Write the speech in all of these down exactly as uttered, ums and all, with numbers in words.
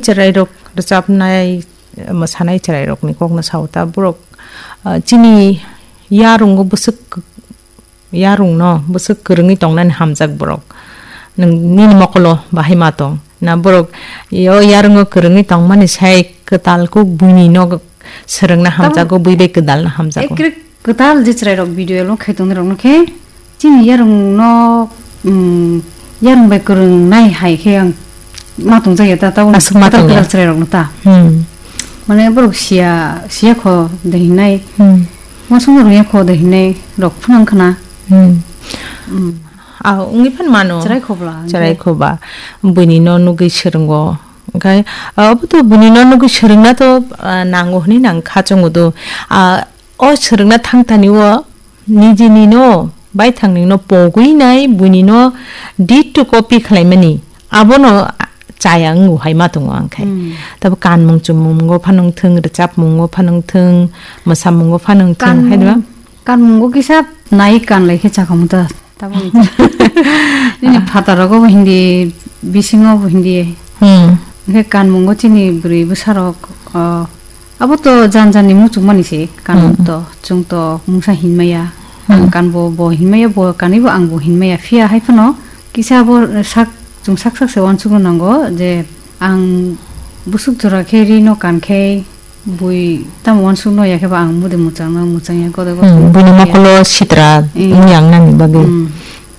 Chwrairok rwchapnai, mwsanai chwrairokni kokno sao ta, borok, ah, chini yarungo bwswk, yarungno bwswk kwrwngwi tongnani hamjak borok. Nwng nini mokolo bahai ma tong. Na borok yo yarungo kwrwngwi tongmani sai kwtal kuk buini no swrwngna Tamo hamjago, bui bai kwdalna hamjago. Ekre kwtal je chwrairok video lo khai tongnai rokno khe chini yarung no, um, yarung bai kwrwng nai hai khe ang ma tongjakya ta, tabuk aswk ma kwtal tongya. Kwtal chwrairokno ta. Hmm. Mane borok siya, siya kho de hinai. Hmm. Uansukma rwngya kho de hinai rok phano wngkha na. Hmm. Hmm. Ah, wngwi phan mano. Chwrai khobla, chwrai hwnkhe. Khoba. Buini no nugwi swrwngo. Onkhe, ah, obo to buini no nugwi swrwngna to, ah, nango hwnwi nang kha chongo do. Ah, o swrwngna thang thani o nijini no baithang ni no pogwi nai buini no ditto copy khlaimani. Abono chaya wngo hai ma tongo ang khai. Hmm. Tabo kanmung chummungo phanang thung, rwchapmungo phanang thung, mwsamungo phanang thung, Kan-, hai diba? Kanmungo kisa nai kan lai khe chakhamu ta. Tabuk nini phataro go bo hindi, bisingo bo hindi. Hmm. Hwnkhe kanmungo chini bwrwi bwsarok, o, abo to jan jan ni muchungmani se kanmung Hmm. to, chwng to mungsa hinmaya. Hmm. Ang kanbo bo hinmaya, bo kanwi bo ang bo hinmaya. Phiya hai phano kisa bo sak, chwng sak sak se uansukna nango je ang bwswk jora khe rino kan khe bui tamo uansukno ya khe ba ang mode mwchangno mwchangya gode gode Hmm, buini ya. Mokolo sitra Hmm. wngya wngnani bagwi. Hmm.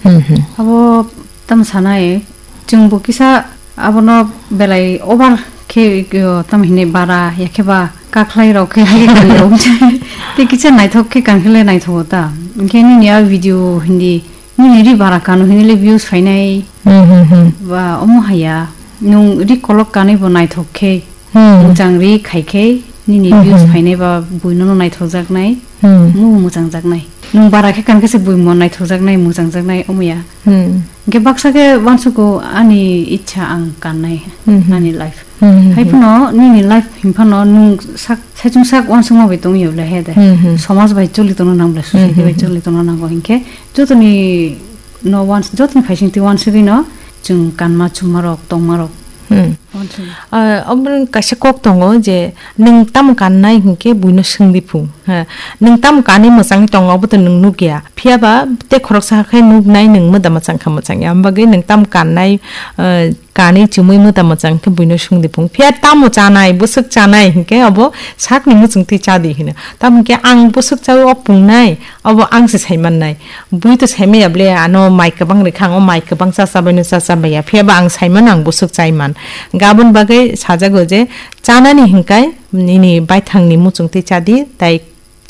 Hmm, hmm. Abo tamo sanai, chwngbo kisa abono belai over khe, o, tamo hinwi bara, ya khe ba kakhlai rok khe hai khe kanwi rok. Tei kisa naithok khe kan khe le naithogo ta. Hinkhe nini a video hindi, nini ri bara kano hindi le views phainai. Hmm, hmm, hmm. Ba omo haya, nwng ri kolok kanwi bo naithok khe, Hmm. Mwchang ri khai khe, nini Hmm, views hmm. phainai ba buino no naithokjaknai, Hmm. omo bo mwchangjaknai. Nwng bara khe kan khe se buimo naithokjaknai, mwchangjaknai, omo ya. Hmm. Hinkhe baksa khe uansugo ani ichha ang kannai, Hmm, hmm. ani life. Hmm, hmm, Hai hmm. phano nini life hinphano nwng sak, saichung sak uansukma bai tongwi le he de. Hmm, hmm. Somaj bai choli tongna nang ble, society Hmm, hmm, bai hmm. choli tongna nango hinkhe jotoni no uans-, jotoni phaisingtwi uansugwi no chwng kanma chuma rok, tongma rok Hmm. Uansugwi. Ah, omo kaisa kok tongo je nwng tamo kannai hinkhe buino swngdi phung. Ha, nwng tamo kanwi mwchangwi tongo, obo to nwng nukya. Phiyaba tei khoroksa khe nuknai nwng mwda mwchang kha mwchangya. Amo bagwi nwng tamo kannai, ah, kanwi chumui mwda mwchang khe buino swngdi phung. Phiya tamo chanai, bwswk chanai hinkhe obo sakni muchungtwi chadi hino. Tamo hinkhe ang bwswk chaui o pungnai, obo ang se saimannai. Bui to saimaya ble, ano mai kwbang rikha, ang o mai kwbang chachabaino chachabaya. Phiyaba ang saimano ang bwswk chaiman. Gabon bagwi sajago je chanani hinkai nini baithangni muchungtwi chadi, tai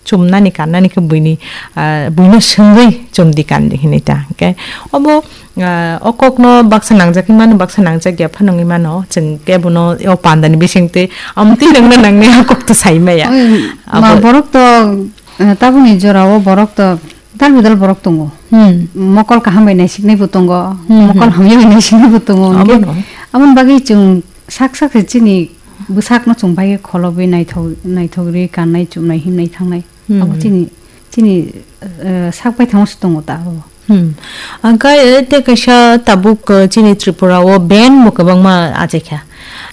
chumnani kannani khe buini, ah, buino swngwi chumdi kandi hinwi ta. Hinkhe obo, ah, o kokno baksa nangjagwi mano, baksa nangjak ya phano wngwi mano. Chwng kebono o pandani bisingtwi amtwi nangna nangnai o kokto saimaya. Oi, ma Abo borok to, eh, tabukni jorao borok to Dal bidal borok tongo. Hmm. Mokol kaham bai naisiknai bo tongo, Hmm, mokol hmm. hamya bai naisiknai bo tongo. Hinkhe Abono. Aboni bagwi chwng sak sak se chini bwsakno chwng bai khe kholobwi naithok, naithok ri kannai, chumnai, himnai, thangnai. Hmm. Abo chini, chini, eh, sak bai thango se tongo ta abo. Hmm. Angkhe, eh, tei kaisa tabuk, eh, chini Tripura o band bo kwbangma achaikha.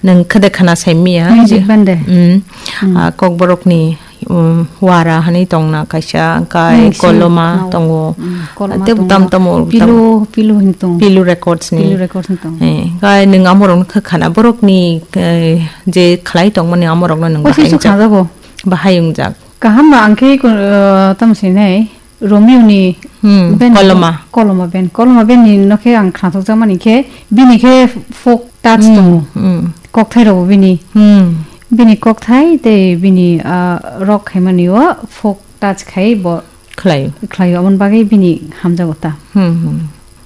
Nwng khede khana saimya. Music Je- band de. Hmm. Hmm. Ah, Kokborokni um, wara hwnwi tongna kaisa, angkai Nung sing, koloma no. tongo. Mm, koloma Tei tongo. Tam tamo, Pilu, tam pilu hin tong. Pilu Records ni. Pilu Records ni tong. Eh, angkai nwng amorokno kha khana borokni, eh, je khlai tongmani amorokno nwng Osi bahai su wngjak. Khajago. Bahai wngjak. Kaham ba angkhe ko, eh, tam sinai Romeo ni Hmm, band koloma. Koloma band. Koloma band ni nokhe ang khnathok jakmani khe bini khe folk touch Hmm, tongo. hmm. Kokthai rogo bini. Hmm. Bini kokthai tei bini, ah, rock khaimani o folk touch khai bo Khlaio. khlaio, aboni bagwi bini hamjago ta. Hmm, hmm.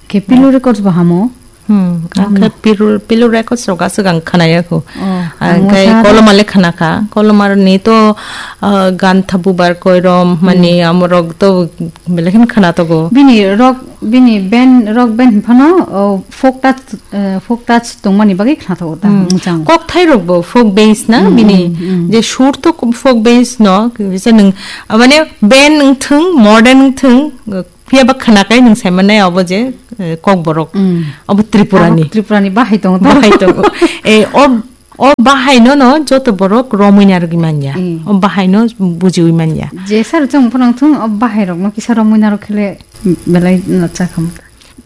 Khe Pilu Records bo hamo. Hmm, Hamo. Ang khe Pilu, Pilu Records rok aswk ang khnaya kho. Oh, Ang ang khe wngkha Koloma le khna kha. Koloma ni to, ah, Gantha Bubar Koirom, mani Hmm. amorok to belai kheno khna togo. Bini rock, bini band, rock band phano, oh, folk touch, eh, folk touch tongmani bagwi khna togo ta, Hmm. mwchang. Kokthai rok bo folk base na Hmm, bini hmm, hmm. je sur to folk base no, kisa nwng, ah, mane band wng thung, modern wng thung, phiya ba khna kai nwng sai mannai abo je, eh, Kokborok. Hmm. Abo Tripura ni. Abo Tripura ni bahai tongo ta. Bahai tongo. Eh, o O bahaino no joto borok romwi narwgwi manya. Mm. O bahaino bujiwi manya. Jesa rwchapmung phano wngthung, o bahairokno kisa romwi narwk khe le belai no chakha.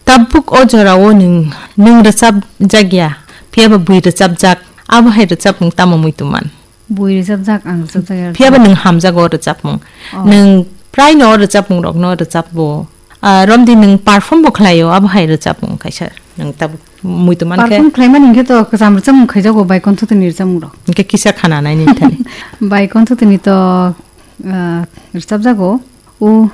Tabuk o jorao nwng, nwng rwchapjakya, phiyaba bui rwchapjak, abo hai rwchapmung tamo muitu man? Bui rwchapjak, ang rwchapjak ya. Phiyaba nwng hamjago o rwchapmung. Oh. Nwng praino o rwchapmungrokno rwchapbo. Ah, romdi nwng perform bo khlaio, abo hai rwchapmung kaisa nwng tabuk muitu man khe. Perform khlaimani hinkhe to kwcham rwchapmung khaijago, bai konthotoni rwchapmungrok. Hinkhe kisa khana naini thani. Bai konthotoni to, ah, rwchapjago. O